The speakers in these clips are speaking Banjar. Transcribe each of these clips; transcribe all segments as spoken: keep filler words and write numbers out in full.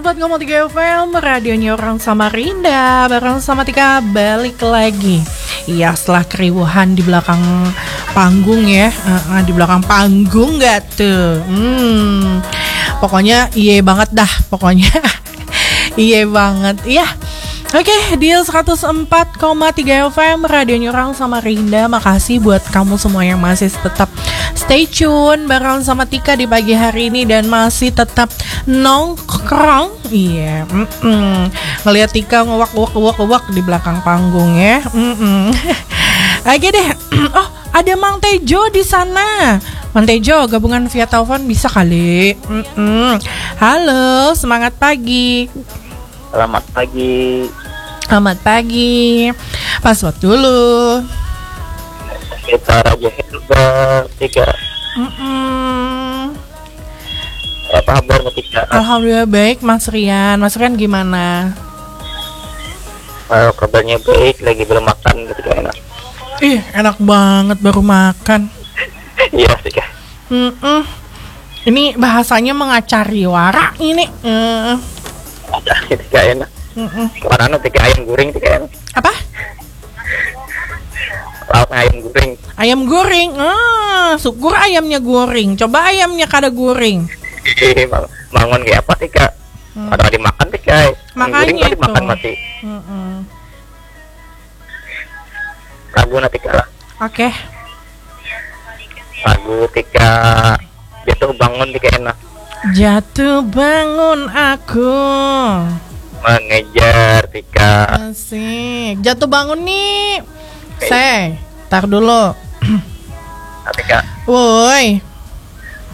Buat Ngomong Tiga F M, radionya orang Samarinda, bareng sama Tika balik lagi. Iya, setelah keriuhan di belakang panggung ya, eh, eh, di belakang panggung gak tuh? Hmm, pokoknya iye banget dah, pokoknya iye banget ya. Oke, di seratus empat koma tiga F M, radionya orang Samarinda. Makasih buat kamu semua yang masih tetap stay tune bareng sama Tika di pagi hari ini dan masih tetap nongkrong. Iya, mm-mm. Ngeliat Tika ngewak, ngewak, ngewak, ngewak di belakang panggung ya. Mm-mm. Oke deh. Oh, ada Mang Tejo di sana. Mang Tejo gabungan via telepon bisa kali. Mm-mm. Halo, semangat pagi. Selamat pagi. Selamat pagi. Password dulu. Kita Raja Herbal Tika. Mm-mm. Apa kabar Tika? Alhamdulillah baik, Mas Rian. Mas Rian gimana? Eh, kabarnya baik, lagi belum makan, Tika, enak. Ih, enak banget, baru makan. Iya, Tika. Mm-mm. Ini bahasanya mengacari wara ini. Mm. Ada, Tika, enak. Mm-mm. Kemana nu, Tika, ayam goreng, Tika, enak. Apa? Lauk ayam goreng. Ayam goreng. Ah, syukur ayamnya goreng. Coba ayamnya kada goreng. Ih, bang- bangun kayak apa, Tika? Hmm. Ada dimakan, Tika. Ayam goreng Makanya kada dimakan itu. Masih. Mm-mm. Lagu na, Tika, lah. Oke. Lagu, Tika, jatuh bangun, Tika, enak. Jatuh bangun aku. Mengejar, Tika. Asik. Jatuh bangun nih. Say, tar dulu. Nah, Tika. Woi.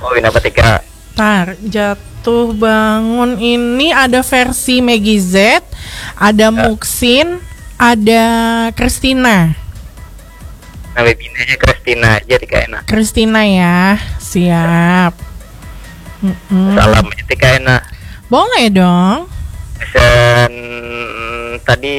Oh, kenapa, Tika? Tar, jatuh bangun ini ada versi Maggie Z, ada Muksin, ada Christina. Nah, bebinanya Christina aja, Tika, enak. Christina ya, siap. Mm-mm. Salam aja, Tika, enak. Boleh dong. Pesan tadi